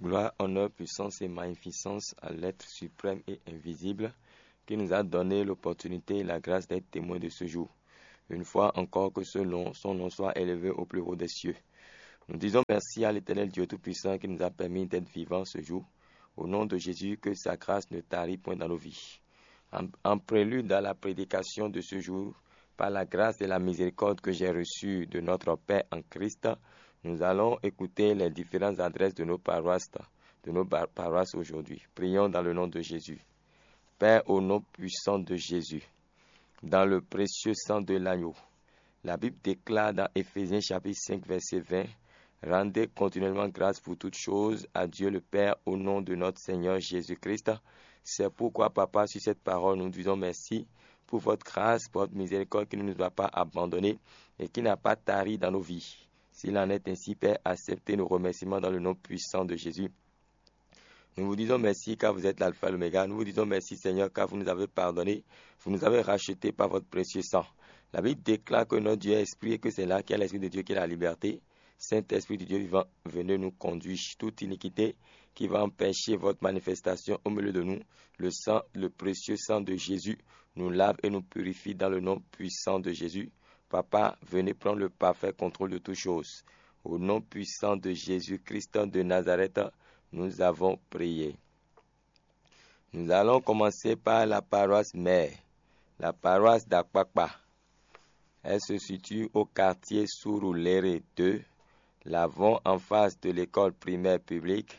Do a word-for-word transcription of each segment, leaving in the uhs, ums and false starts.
Gloire, honneur, puissance et magnificence à l'être suprême et invisible qui nous a donné l'opportunité et la grâce d'être témoin de ce jour. Une fois encore que ce nom, son nom soit élevé au plus haut des cieux. Nous disons merci à l'Éternel Dieu Tout-Puissant qui nous a permis d'être vivants ce jour. Au nom de Jésus, que sa grâce ne tarit point dans nos vies. En, en prélude à la prédication de ce jour, par la grâce et la miséricorde que j'ai reçue de notre Père en Christ, nous allons écouter les différentes adresses de nos paroisses, de nos par-, paroisses aujourd'hui. Prions dans le nom de Jésus. Père, au nom puissant de Jésus, dans le précieux sang de l'agneau, la Bible déclare dans Éphésiens chapitre cinq, verset vingt, rendez continuellement grâce pour toutes choses à Dieu le Père au nom de notre Seigneur Jésus-Christ. C'est pourquoi, Papa, sur cette parole, nous disons merci pour votre grâce, pour votre miséricorde qui ne nous a pas abandonnés et qui n'a pas tari dans nos vies. S'il en est ainsi, Père, acceptez nos remerciements dans le nom puissant de Jésus. Nous vous disons merci car vous êtes l'alpha et l'oméga. Nous vous disons merci, Seigneur, car vous nous avez pardonné. Vous nous avez rachetés par votre précieux sang. La Bible déclare que notre Dieu est esprit et que c'est là qu'il y a l'Esprit de Dieu qui est la liberté. Saint-Esprit du Dieu vivant, venez nous conduire toute iniquité qui va empêcher votre manifestation au milieu de nous. Le sang, le précieux sang de Jésus nous lave et nous purifie dans le nom puissant de Jésus. Papa, venez prendre le parfait contrôle de toutes choses. Au nom puissant de Jésus-Christ de Nazareth, nous avons prié. Nous allons commencer par la paroisse mère, la paroisse d'Akpakpa. Elle se situe au quartier Surulere deux, l'avant en face de l'école primaire publique.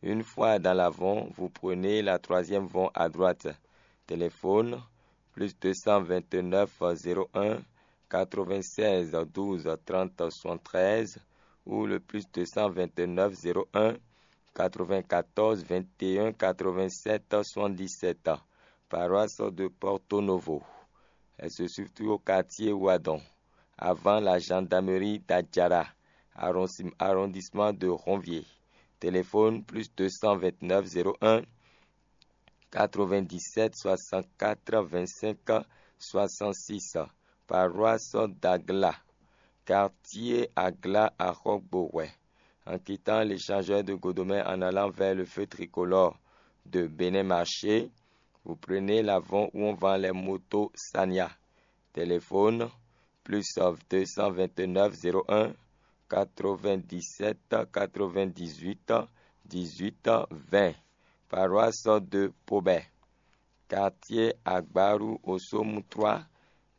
Une fois dans l'avant, vous prenez la troisième vente à droite. Téléphone, plus deux cent vingt-neuf zéro un quatre-vingt-seize douze trente soixante-treize ou le plus deux cent vingt-neuf zéro un quatre-vingt-quatorze vingt et un quatre-vingt-sept soixante-dix-sept. Paroisse de Porto Novo. Elle se situe au quartier Ouadon, avant la gendarmerie d'Adjara, arrondi-, arrondissement de Ronvier. Téléphone plus deux cent vingt-neuf zéro un quatre-vingt-dix-sept soixante-quatre vingt-cinq soixante-six. Paroisse d'Agla, quartier Agla à Roquebeauway. En quittant l'échangeur de Godomé en allant vers le feu tricolore de Bénin Marché, vous prenez l'avant où on vend les motos Sania. Téléphone, plus deux cent vingt-neuf zéro un quatre-vingt-dix-sept quatre-vingt-dix-huit dix-huit vingt. Paroisse de Pobay, quartier Agbarou au Somme trois,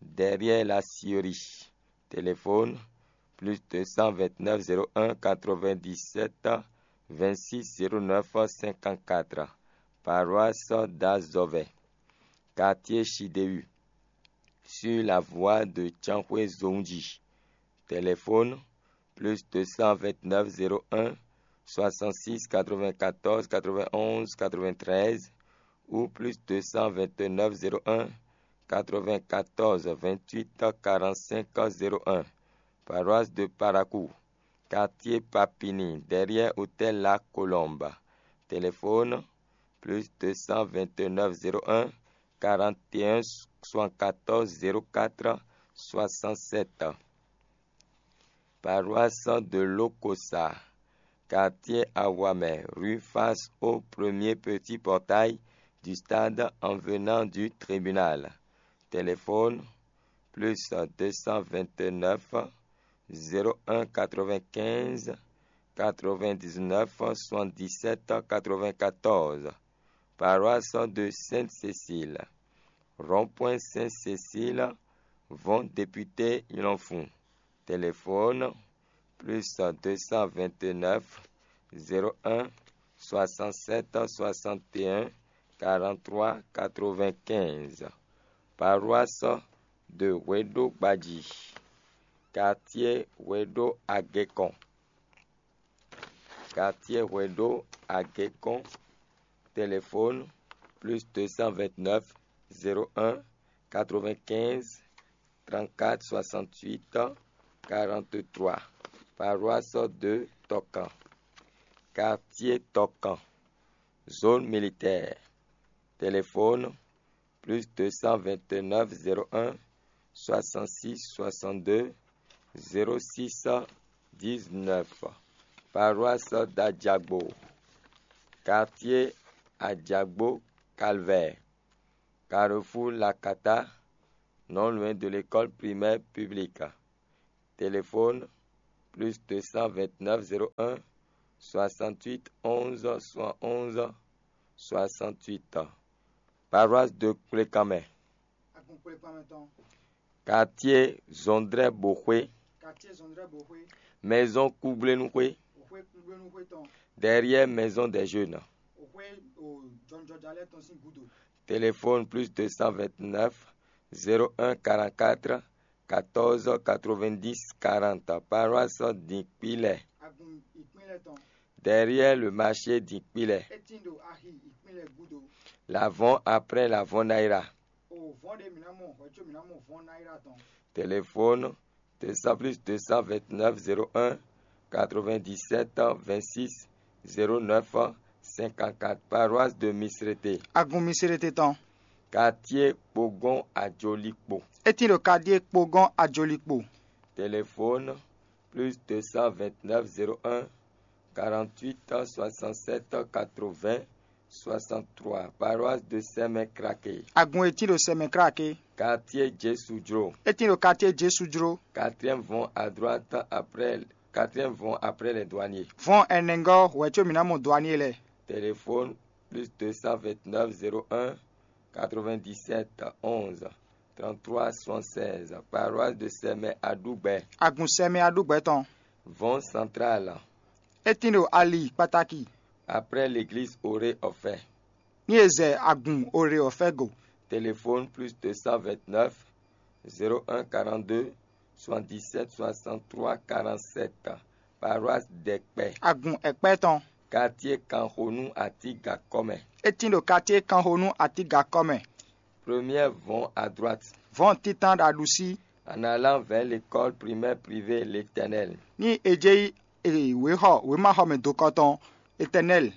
derrière la scierie. Téléphone, plus deux cent vingt-neuf zéro un quatre-vingt-dix-sept vingt-six zéro neuf cinquante-quatre. Paroisse d'Azovay, quartier Chidéu, sur la voie de Tiankhoué Zondji. Téléphone, plus deux cent vingt-neuf zéro un soixante-six quatre-vingt-quatorze quatre-vingt-onze quatre-vingt-treize ou plus deux cent vingt-neuf zéro un quatre-vingt-quatorze vingt-huit quarante-cinq zéro un. Paroisse de Parakou, quartier Papini, derrière hôtel La Colombe. Téléphone, plus deux cent vingt-neuf zéro un quarante et un soixante-quatorze zéro quatre soixante-sept. Paroisse de Lokosa, quartier Awamé, rue face au premier petit portail du stade en venant du tribunal. Téléphone, plus deux cent vingt-neuf zéro un quatre-vingt-quinze quatre-vingt-dix-neuf soixante-dix-sept quatre-vingt-quatorze. Paroisse de Sainte-Cécile, rond-point Sainte-Cécile, vont député Ylanfou. Téléphone, plus deux cent vingt-neuf zéro un soixante-sept soixante et un quarante-trois quatre-vingt-quinze. Paroisse de Wedo Gbadji, quartier Wedo Agekon. Quartier Wedo Agekon. Téléphone, plus deux cent vingt-neuf zéro un quatre-vingt-quinze trente-quatre soixante-huit quarante-trois. Paroisse de Tokan, quartier Tokan, zone militaire. Téléphone, plus deux cent vingt-neuf zéro un soixante-six soixante-deux zéro six dix-neuf. Paroisse d'Adjagbo, Quartier Adjagbo Calvaire, Carrefour Lakata, non loin de l'école primaire publique. Téléphone plus deux cent vingt-neuf zéro un soixante-huit onze soixante-onze soixante-huit. Paroisse de Kplékanmɛ. Agun kplekpanmɛ tɔn. Quartier Zɔndrɛ Boxwé. Quartier Zɔndrɛ Boxwé. Maison Kugblenu Xwé. Boxwé Kugblenu Xwé tɔn. Derrière Maison des Jeunes. Boxwé o jɔnjɔjalɛ tɔn sín gudo. Téléphone plus deux cent vingt-neuf zéro un quarante-quatre quatorze quatre-vingt-dix quarante. Paroisse Dinkpilɛ. Agun ìpínlẹ̀ tɔn. Derrière le marché Dinkpilɛ. Étín ɖo axi ìpínlẹ̀ gúdo. L'avant après l'avant Naira. O vɔn ɖé mǐ ná mɔ hwɛ̌ có mǐ ná mɔ vɔn náírà tɔn. Téléphone deux cents plus deux cent vingt-neuf zéro un quatre-vingt-dix-sept vingt-six zéro neuf cinquante-quatre. Paroisse de Misrété. Agun Misrété tɔn. Quartier Kpogɔn Ajolikpo. Étín ɖo quartier Kpogɔn Ajolikpo. Téléphone plus deux cent vingt-neuf zéro un quarante-huit soixante-sept quatre-vingts soixante-trois. Paroisse de Sɛmɛ Kraké. Agun e tín ɖo Sɛmɛ Kraké. Quartier Jésù Jró. É tín ɖo quartier Jésù Jró. Quatrième vɔn à droite après, quatrième vɔn après les douaniers. Vɔn ɛnɛngɔ́ hwɛ̌ có mǐ ná mɔ douanier lɛ́ɛ. Téléphone plus deux cent vingt-neuf zéro un quatre-vingt-dix-sept onze trente-trois soixante-seize. Paroisse de Sɛmɛ Aɖúgbɛ. Agun Sɛmɛ Aɖúgbɛ tɔn. Vɔn central. É tín ɖo ali kpataki. Après l'église Oré Ɔfɛ. Ní e zɛ agun Oré Ɔfɛ go. Téléphone plus deux cent vingt-neuf zéro un quarante-deux soixante-dix-sept soixante-trois quarante-sept. Paroisse Dɛkpɛ. Agun Ɛkpɛ tɔn. Quartier Kanxonu Atiga kɔmɛ. É tín ɖo quartier Kanxonu Atiga kɔmɛ. Première vɔn à droite. Vɔn títan ɖo aɖusí. En allant vers l'école primaire privée L'Éternel. Ní e jɛ yi e wěxɔ wěmaxɔmɛ dokɔ tɔn Éternel.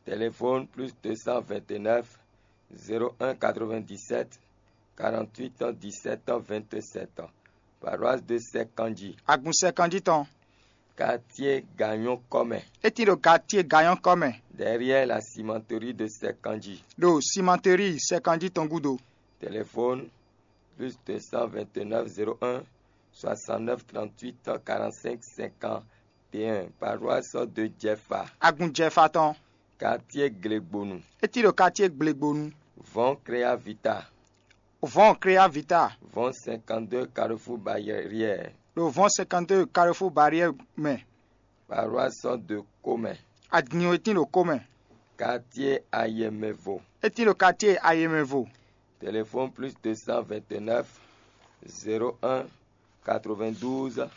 Téléphone plus deux cent vingt-neuf zéro un quatre-vingt-dix-sept quarante-huit dix-sept vingt-sept. Paroisse de Sɛkanji. Agun Sɛkanji tɔn. Quartier Gagnon kɔmɛ. É tín ɖo quartier Gagnon kɔmɛ. Derrière la cimenterie de Sɛkanji. Ɖo cimenterie Sɛkanji tɔn gúdo. Téléphone plus deux cent vingt-neuf zéro un soixante-neuf trente-huit quarante-cinq cinquante-et-un. Paroisse de Jɛfa. Agun Jɛfa tɔn. Quartier Glegbonu. É tín ɖo quartier Glegbonu. Vɔn Créa Vita. Vɔn Créa Vita. Vɔn cinquante-deux Carrefour Barrière. Ɖo vɔn cinquante-deux Carrefour Barrière mɛ. Paroisse de Comɛ. Agun e tín ɖo Comɛ. Quartier Ayɛmɛvo. É tín ɖo quartier Ayɛmɛvo. Téléphone plus deux cent vingt-neuf zéro un quatre-vingt-douze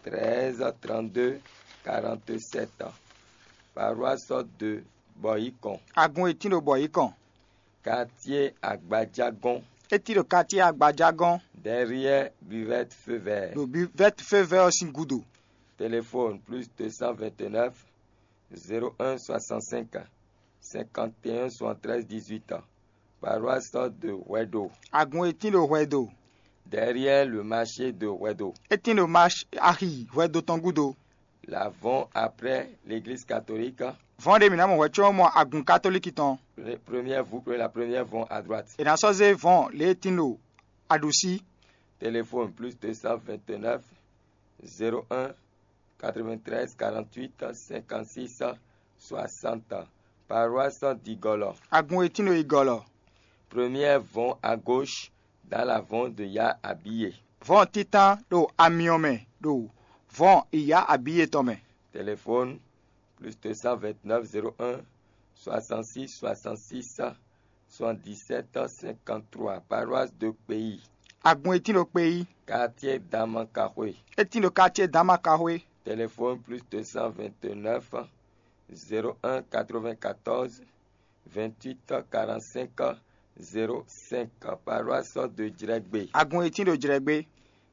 treize trente-deux quarante-sept. Paroisse de Bɔyikɔn. Agun e tín ɖo Bɔyikɔn. Quartier Agbajagɔn. É tín ɖo quartier Agbajagɔn. Derrière Buvette Feu Vert. Ɖo Buvette Feu Vert ɔ́ sín gúdo. Téléphone plus deux cent vingt-neuf zéro un soixante-cinq cinquante-et-un soixante-treize dix-huit. Paroisse de Hwɛdo. Agun e tín ɖo Hwɛdo. Derrière le marché de Hwɛdo. É tín ɖo marché axi Hwɛdo tɔn gúdo. L'avant après l'église catholique. Vɔn ɖé mǐ ná mɔ hwɛ̌ có mɔ agun katolíki tɔn. Première voûte, la première vɔn à droite. È nǎ sɔ́ zé vɔn lě e tín ɖo aɖusí. Téléphone plus deux cent vingt-neuf zéro un quatre-vingt-treize quarante-huit cinquante-six soixante. Paroisse d'Igɔlɔ. Agun e tín ɖo Igɔlɔ. Première vɔn à gauche dans la vɔn de Ya Abiye. Vɔn títan ɖo amyɔ mɛ ɖo vɔn Iya Abiye tɔn mɛ. Téléphone plus deux cent vingt-neuf zéro un soixante-six soixante-six soixante-dix-sept cinquante-trois. Paroisse de Kpeyi. Agun e tín ɖo Kpeyi. Quartier Damakaxwe. É tín ɖo quartier Damakaxwe. Téléphone plus deux cent vingt-neuf zéro un quatre-vingt-quatorze vingt-huit quarante-cinq zéro cinq. Paroisse de Jrɛgbe. Agun e tín ɖo Jrɛgbe.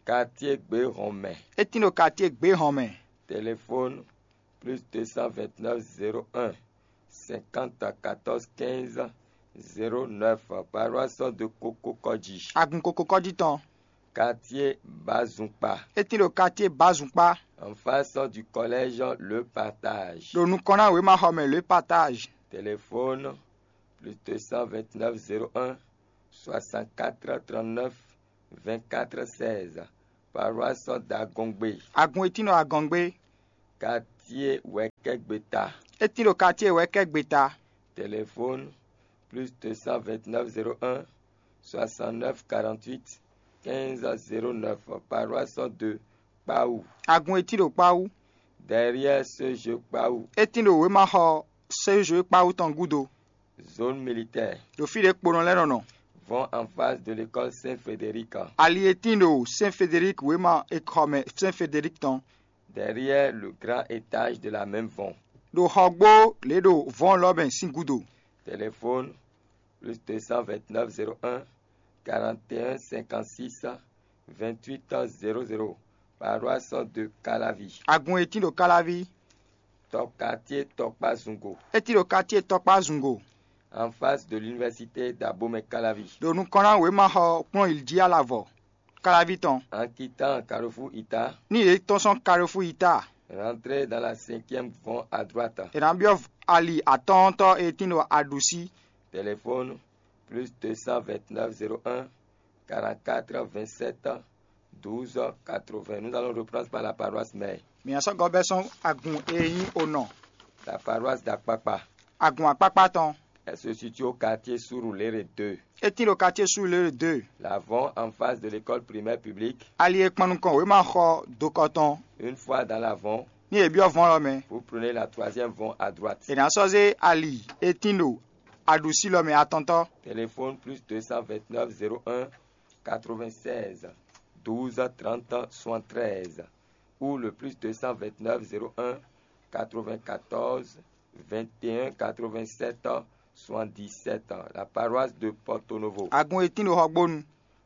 Quartier Gbehɔnmɛ. É tín ɖo quartier Gbehɔnmɛ. Téléphone plus deux cent vingt-neuf zéro un cinquante quatorze quinze zéro neuf. Paroisse de Kokokɔji. Agun Kokokɔji tɔn. Quartier Bazunpa. É tín ɖo quartier Bazunpa. En face du collège Le Partage. Ɖo nukɔn ná wěmaxɔmɛ Le Partage. Téléphone plus deux cent vingt-neuf zéro un soixante-quatre trente-neuf vingt-quatre seize. Paroisse d'Agongbe. Agun e tín ɖo Agɔngbe. Quartier Wɛkɛgbeta. E tín ɖo quartier Wɛkɛgbeta. Téléphone plus deux cent vingt-neuf zéro un soixante-neuf quarante-huit quinze zéro neuf. Paroisse de Kpawu. Agun e tín ɖo Kpawu. Derrière ce jeu Kpawu. E tín ɖo wěmaxɔ Sejoe Kpawu tɔn gúdo. Zone militaire. Ɖo fí ɖě kponɔ lɛ́ɛ nɔ nɔ. Vont en face de l'école Saint-Frédéric. Ali e tín ɖo Saint Frédéric wěma exɔ mɛ Saint Frédéric tɔn. Derrière le grand étage de la même vont. Ɖo xɔgbó lě ɖo vɔn lɔ mɛ sín gúdo. Téléphone plus deux cent vingt-neuf zéro un quarante et un cinquante-six vingt-huit zéro zéro. Paroisse de Calavi. Agun e tín ɖo Káláví. Tɔ quartier Tɔkpa Zungo. E tín ɖo quartier Tɔkpa Zungo. En face de l'université d'Abomey Calavi. Ɖo nukɔn ná wěmaxɔ kplɔ́n yi jí alavɔ Káláví tɔn. En quittant Carrefour Ita. Ní yě tɔ́n sɔ́n Carrefour yi ta. Rentrez dans la cinquième vont à droite. È nǎ byɔ́ ali atɔ́ɔ́ntɔ́ e tín ɖo aɖusí. Téléphone plus deux cent vingt-neuf zéro un quarante-quatre vingt-sept douze quatre-vingts. Nous allons reprendre par la paroisse mère. Mǐ sɔ́ gɔ́ bɛ́ sɔ́n agun e nyí onɔ. La paroisse d'Akpakpa. Agun akpákpá tɔn. Elle se situe au quartier Surulere deux. E tín ɖo quartier Surulere deux. La vont en face de l'école primaire publique. Ali e kpan nukɔn wěma xɔ dokɔ tɔn. Une fois dans la vont, Ní yě byɔ́ vɔn lɔ mɛ. Vous prenez la troisième vont à droite. È nǎ sɔ́ zé ali e tín ɖo aɖusí lɔ mɛ atɔntɔ́. Téléphone plus deux cent vingt-neuf zéro un quatre-vingt-seize douze trente soixante-treize ou le plus deux cent vingt-neuf zéro un quatre-vingt-quatorze vingt et un quatre-vingt-sept soixante-dix-sept. La paroisse de Porto Novo. Agun e tín ɖo xɔgbónu.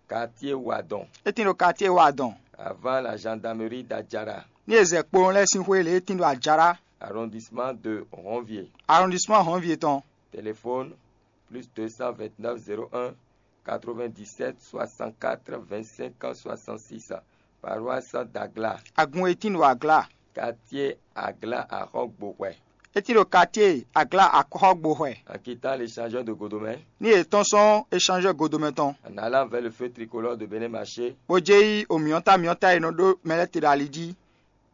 Quartier Wadon. E tín ɖo quartier Wadon. Avant la gendarmerie d'Adjara. Ní è zɛ kpowun lɛ́ɛ sín xwé lě e tín ɖo Adjara. Arrondissement de Ronvier. Arrondissement Ronvier tɔn. Téléphone plus deux cent vingt-neuf zéro un quatre-vingt-dix-sept soixante-quatre vingt-cinq soixante-six. Paroisse d'Agla. Agun e tín ɖo Agla. Quartier Agla Axɔgboxwɛ. E tín ɖo quartier Agla Axɔgboxwɛ. En quittant l'échangeur de Godomé. Ní yě tɔ́n sɔ́n échangeur Godomé tɔn. En allant vers le feu tricolore de Bénin Marché. Bó jɛ yi omyɔ́ntá myɔ́ntá e nɔ ɖó mɛ lɛ́ɛ te ɖo ali jí.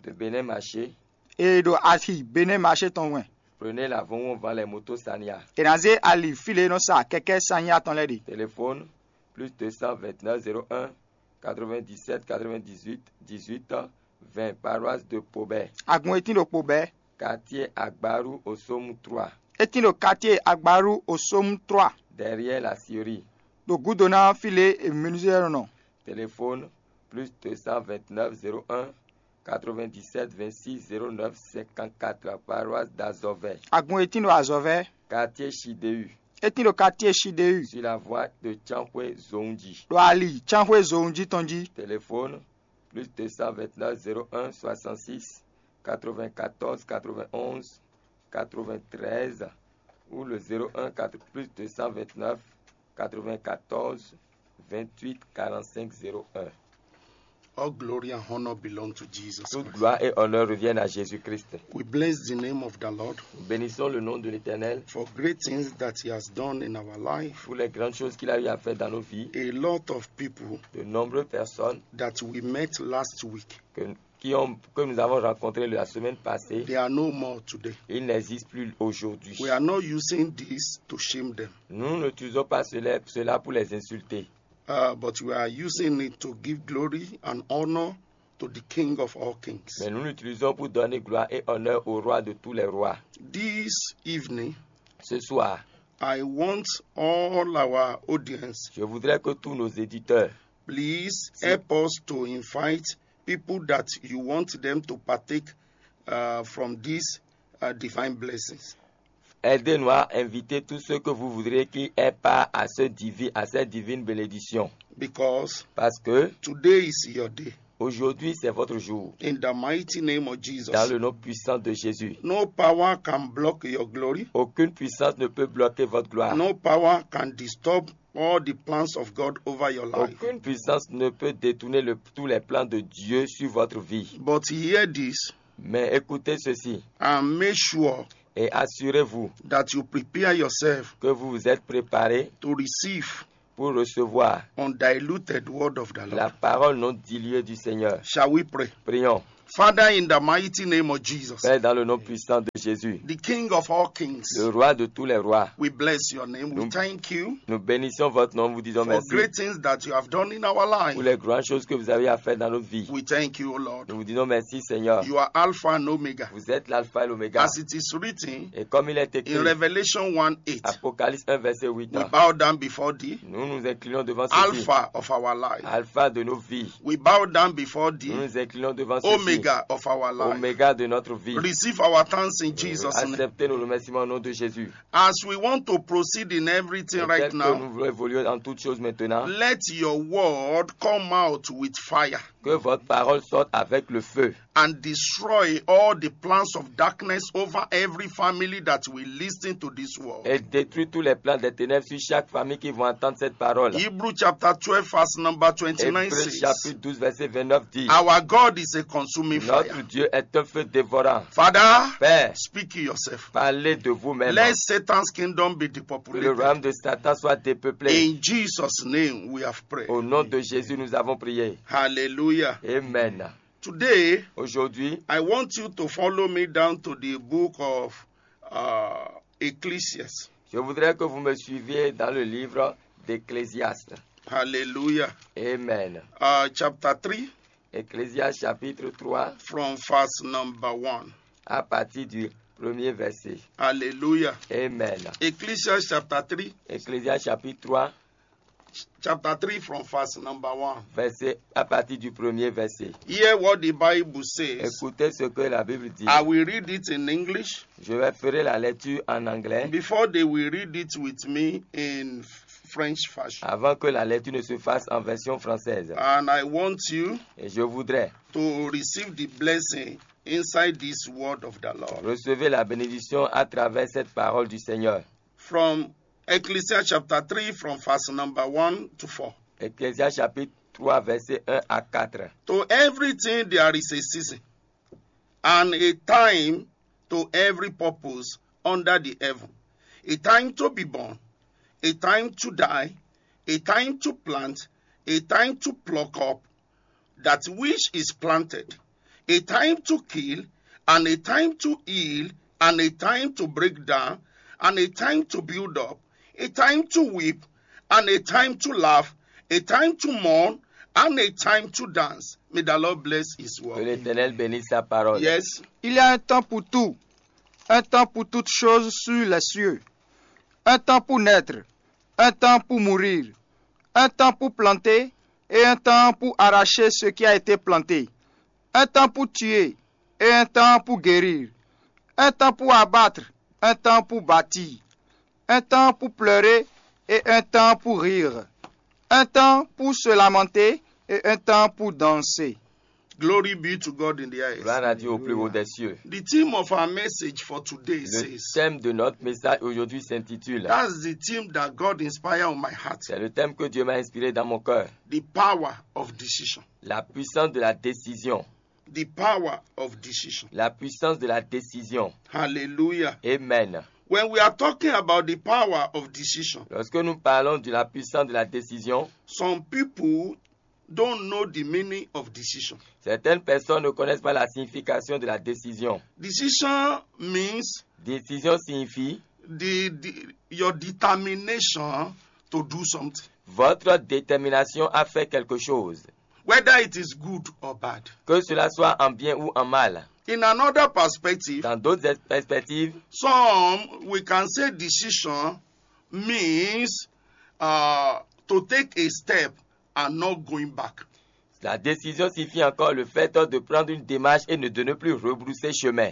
De Bénin Marché. E ɖo axi Bénin Marché tɔn wɛn. Prenez la vont où on vend les motos Sania. È nǎ zé ali fí lě e nɔ sa kɛkɛ́ Sania tɔn lɛ́ɛ ɖe. Téléphone plus deux cent vingt-neuf zéro un quatre-vingt-dix-sept quatre-vingt-dix-huit dix-huit vingt. Paroisse de Pobé. Agun e tín ɖo Pobé. Quartier Agbaru Osomu trois. E tín ɖo quartier Agbaru Osomu trois. Derrière la scierie. Ɖo gúdo ná fí lě e menuisier nɔ nɔ. Téléphone plus deux cent vingt-neuf zéro un quatre-vingt-dix-sept vingt-six zéro neuf cinquante-quatre. Paroisse d'Azovè. Agun e tín ɖo Azovè. Quartier Chidéu. E tín ɖo quartier Chidéu. Sur la voie de Tiankhoué Zondji. Ɖo ali Tiankhoué Zondji tɔn jí. Téléphone plus deux cent vingt-neuf zéro un soixante-six quatre-vingt-quatorze quatre-vingt-onze quatre-vingt-treize ou le zéro un plus deux cent vingt-neuf quatre-vingt-quatorze vingt-huit quarante-cinq zéro un. All glory and honor belong to Jesus Toute Christ. Gloire et honneur reviennent à Jésus-Christ. We bless the name of the Lord Nous bénissons le nom de l'Éternel for great things that He has done in our life. Pour les grandes choses qu'il a eu à faire dans nos vies. A lot of people De nombreuses personnes that we met last week, que, qui ont, que nous avons rencontrées la semaine passée, they are no more today. Ils n'existent plus aujourd'hui. We are not using this to shame them, Nous n'utilisons pas cela, cela pour les insulter, uh, but we are using it to give glory and honor to the King of all kings. Mais nous l'utilisons pour donner gloire et honneur au roi de tous les rois. This evening, Ce soir, I want all our audience, je voudrais que tous nos éditeurs please help us to invite people that you want them to partake uh, from these uh, divine blessings. Aidez-nous à inviter tous ceux que vous voudrez qui aient part à, ce divi- à cette divine bénédiction. Because Parce que today is your day. Aujourd'hui, c'est votre jour. In the mighty name of Jesus. Dans le nom puissant de Jésus. No power can block your glory. Aucune puissance ne peut bloquer votre gloire. No power can disturb all the plans of God over your life. Aucune puissance ne peut détourner le- tous les plans de Dieu sur votre vie. But hear this Mais écoutez ceci. And make sure Et assurez-vous that you prepare yourself que vous vous êtes préparé to receive pour recevoir undiluted word of the la Lord. Parole non diluée du Seigneur. Shall we pray? Prions. Father, in the mighty name of Jesus, Père, dans le nom puissant de Jésus, the King of all kings, le roi de tous les rois, we bless your name. We Nous- thank you nous bénissons votre nom, vous disons for merci great things that you have done in our pour life. les grandes choses que vous avez à faire dans notre vie. We thank you, O Lord. Nous vous disons merci, Seigneur. You are Alpha and Omega. Vous êtes l'alpha et l'oméga. As it is written Et comme il est in écrit, Revelation one eight, Apocalypse un, verset huit, we bow down before thee, nous nous inclinons devant ceci, Alpha of our life. Alpha de nos vies. We bow down before Nous thee, nous inclinons devant ceci, Omega of our life. Oméga de notre vie. Receive our thanks in Jesus' name. Acceptez nos remerciements au nom de Jésus. As we want to procead in everything Et right tel que now, nous voulons évoluer en toutes choses maintenant, let your word come out with fire que votre parole sorte avec le feu and destroy all the plans of darkness over every family that will listen to this word. et détruit tous les plans des ténèbres sur chaque famille qui vont entendre cette parole. Hebrew chapter twelve, verse number Hébreux twenty-nine says, chapitre douze, verset vingt-neuf dit, Our God is a consuming fire. Notre Dieu est un feu dévorant. Father, Père, speak yourself. Parlez de vous-même. Let Satan's kingdom be Que le depopulated. Royaume de Satan soit dépeuplé. In Jesus' name we have prayed. Au nom de Jésus, nous avons prié. Hallelujah. Amen. Today, Aujourd'hui, I want you to follow me down to the book of uh, Ecclesiastes. Je voudrais que vous me suiviez dans le livre d'Ecclésiaste. Hallelujah. Amen. Uh, chapter three, Ecclésiaste chapitre trois, from verse number one. À partir du premier verset. Hallelujah. Amen. Ecclesiastes chapter three, Ecclésiaste chapitre trois, chapter three from verse number one. Verset, à partir du premier verset. Hear what the Bible says. Écoutez ce que la Bible dit. I will read it in English. Je vais faire la lecture en anglais Before they will read it with me in French fashion. Avant que la lecture ne se fasse en version française. And I want you Et je voudrais to receive the blessing inside this word of the Lord. Recevoir la bénédiction à travers cette parole du Seigneur. From Ecclesiastes chapter three, from verse number one to four. Ecclésiaste chapitre trois, verset un à quatre. To everything there is a season, and a time to every purpose under the heaven. A time to be born, a time to die, a time to plant, a time to pluck up that which is planted, a time to kill, and a time to heal, and a time to break down, and a time to build up, a time to weep, and a time to laugh, a time to mourn, and a time to dance. May the Lord bless his Que word. l'Éternel bénisse sa parole. Yes. Il y a un temps pour tout, un temps pour toutes choses sur les cieux, un temps pour naître, un temps pour mourir, un temps pour planter et un temps pour arracher ce qui a été planté, un temps pour tuer et un temps pour guérir, un temps pour abattre, un temps pour bâtir, un temps pour pleurer et un temps pour rire, un temps pour se lamenter et un temps pour danser. Glory be to God in the highest. Gloire à Dieu au plus haut des cieux. The theme of our message for today Le says, thème de notre message aujourd'hui s'intitule that's the theme that God inspired on my heart. C'est le thème que Dieu m'a inspiré dans mon cœur. The power of decision. La puissance de la décision. The power of decision. La puissance de la décision. Hallelujah. Amen. When we are talking about the power of decision, Lorsque nous parlons de la puissance de la décision, some people don't know the meaning of decision. Certaines personnes ne connaissent pas la signification de la décision. Decision means Décision signifie the, the your determination to do something, votre détermination à faire quelque chose, whether it is good or bad. Que cela soit en bien ou en mal. In another perspective, Dans d'autres perspectives, some we can say decision means uh, to take a step and not going back. La décision signifie encore le fait de prendre une démarche et de ne plus rebrousser chemin.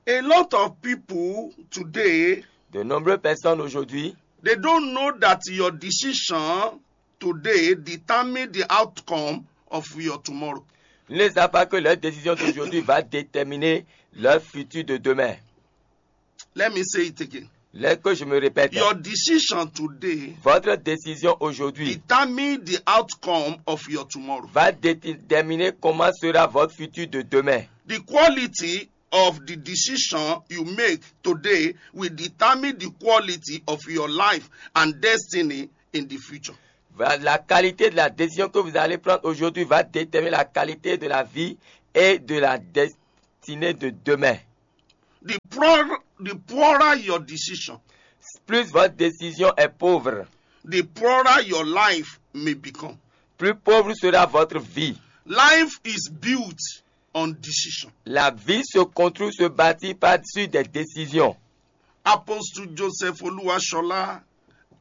A lot of people today, De nombreuses personnes aujourd'hui they don't know that your decision today determine the outcome of your tomorrow. ne savent pas que leur décision d'aujourd'hui va déterminer leur futur de demain. Let me say it again. Là que je me répète, Your decision today votre décision aujourd'hui determine the outcome of your tomorrow. Va déterminer comment sera votre futur de demain. The quality of the decision you make today will determine the quality of your life and destiny in the future. Voilà, la qualité de la décision que vous allez prendre aujourd'hui va déterminer la qualité de la vie et de la destinée de demain. The poorer, the poorer your decision, Plus votre décision est pauvre, the poorer your life may become. Plus pauvre sera votre vie. Life is built on decision. La vie se construit, se bâtit par sur des décisions. Apostle Joseph Oluwashola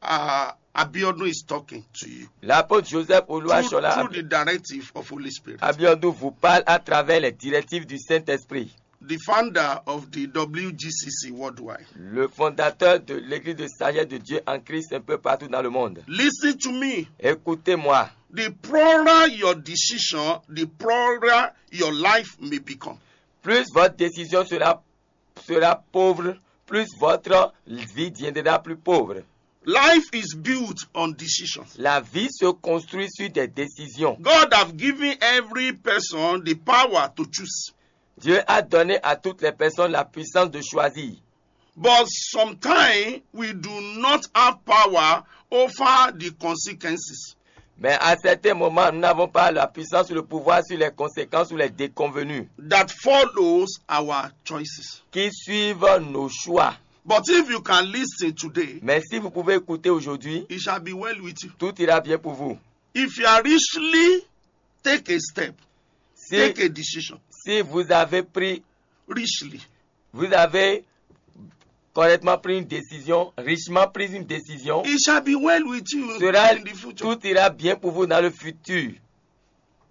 uh, Abiodun is talking to you. L'apôtre Joseph Oluwashola Through the directive of Holy Spirit. Abiodun vous parle à travers les directives du Saint-Esprit. The founder of the W G C C worldwide. Le fondateur de l'Église de Sagesse de Dieu en Christ un peu partout dans le monde. Listen to me. Écoutez-moi. The poorer your decision, the poorer your life may become. Plus votre décision sera, sera pauvre, plus votre vie deviendra plus pauvre. Life is built on decisions. La vie se construit sur des décisions. God have given every person the power to choose. Dieu a donné à toutes les personnes la puissance de choisir. But sometimes we do not have power over the consequences. Mais à certains moments, nous n'avons pas la puissance ou le pouvoir sur les conséquences ou les déconvenues that follows our choices. Qui suivent nos choix. But if you can listen today, Mais si vous pouvez écouter aujourd'hui, it shall be well with you. Tout ira bien pour vous. If you are richly take a step, Si, take a decision. Si vous avez pris, Richly. Vous avez correctement pris une décision, richement pris une décision, It shall be well with you sera, in the future. Tout ira bien pour vous dans le futur.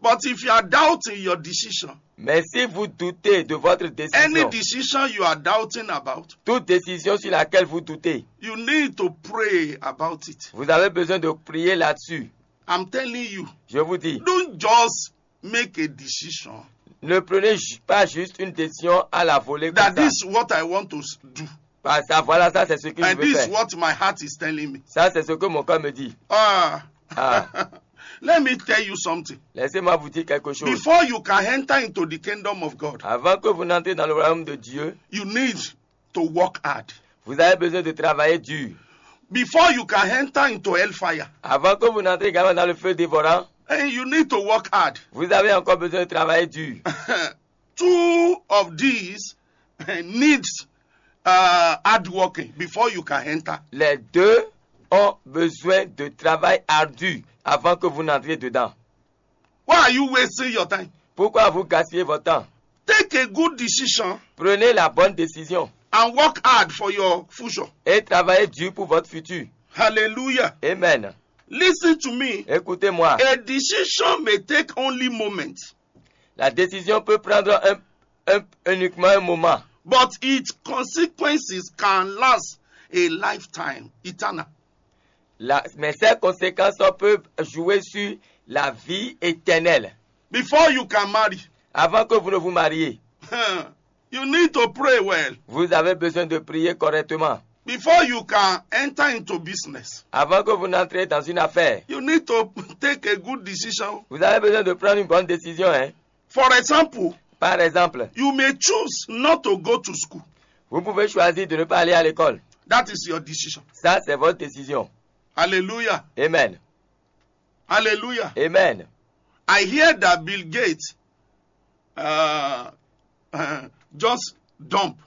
But if you are doubting your decision, Mais si vous doutez de votre any décision, Decision you are doubting about, Toute décision sur laquelle vous doutez, You need to pray about it. Vous avez besoin de prier là-dessus. I'm telling you, Je vous dis, Don't just make a decision. Ne prenez ju- pas juste une décision à la volée comme That ça. This is what I want to s- do. Parce que voilà, ça c'est ce que And je veux this is faire. What my heart is telling me. Ça c'est ce que mon cœur me dit. Ah. Ah. Let me tell you something. Laissez-moi vous dire quelque chose. Before you can enter into the kingdom of God, Avant que vous n'entrez dans le royaume de Dieu, you need to work hard. Vous avez besoin de travailler dur. Before you can enter into hellfire, Avant que vous n'entrez également dans le feu dévorant, and you need to work hard. Vous avez encore besoin de travailler dur. Two of these needs uh, hard working before you can enter. Les deux ont besoin de travail ardu avant que vous n'entriez dedans. Why are you wasting your time? Pourquoi vous gaspillez votre temps? Take a good decision. Prenez la bonne décision. And work hard for your future. Et travaillez dur pour votre futur. Hallelujah. Amen. Listen to me. Écoutez-moi. A decision may take only moments. La décision peut prendre un, un, uniquement un moment. But its consequences can last a lifetime, eternal. La, mais ces conséquences peuvent jouer sur la vie éternelle. Before you can marry, Avant que vous ne vous mariez, You need to pray well. Vous avez besoin de prier correctement. Before you can enter into business, Avant que vous n'entrez dans une affaire, You need to take a good decision. Vous avez besoin de prendre une bonne décision. Hein. For example, Par exemple, You may choose not to go to school. Vous pouvez choisir de ne pas aller à l'école. That is your decision. Ça, c'est votre décision. Hallelujah. Amen. Hallelujah. Amen. I hear that Bill Gates uh, uh, just dump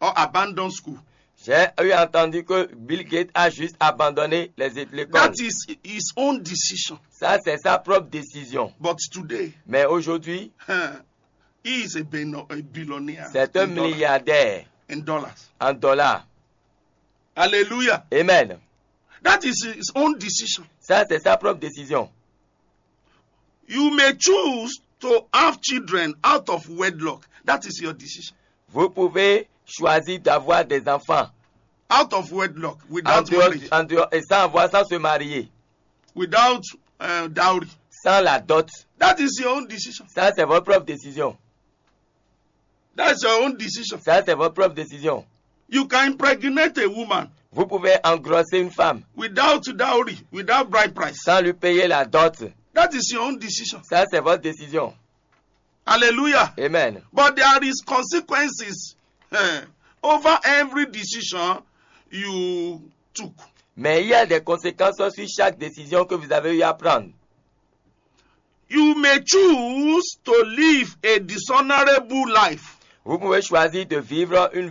or abandon school. J'ai eu entendu que Bill Gates a juste abandonné les é- l'école. That is his own decision. Ça, c'est sa propre décision. But today, Mais aujourd'hui, he is a, billo- a billionaire c'est un in, dollar- milliardaire in dollars. En dollars. Hallelujah. Amen. That is his own decision. Ça, c'est sa propre décision. You may choose to have children out of wedlock. That is your decision. Vous pouvez choisir d'avoir des enfants Out of wedlock, en without dehors, marriage, en dehors- et sans avoir, sans se marier, without uh, dowry. Sans la dot. That is your own decision. Ça, c'est votre propre décision. That's your own decision. Ça, c'est votre propre décision. You can impregnate a woman Vous pouvez engrosser une femme without dowry, without bride price. Sans lui payer la dot. That is your own decision. Ça, c'est votre décision. Hallelujah. Amen. But there is consequences eh, over every decision you took. Mais il y a des conséquences sur chaque décision que vous avez eu à prendre. You may choose to live a dishonorable life. Vous pouvez choisir de vivre une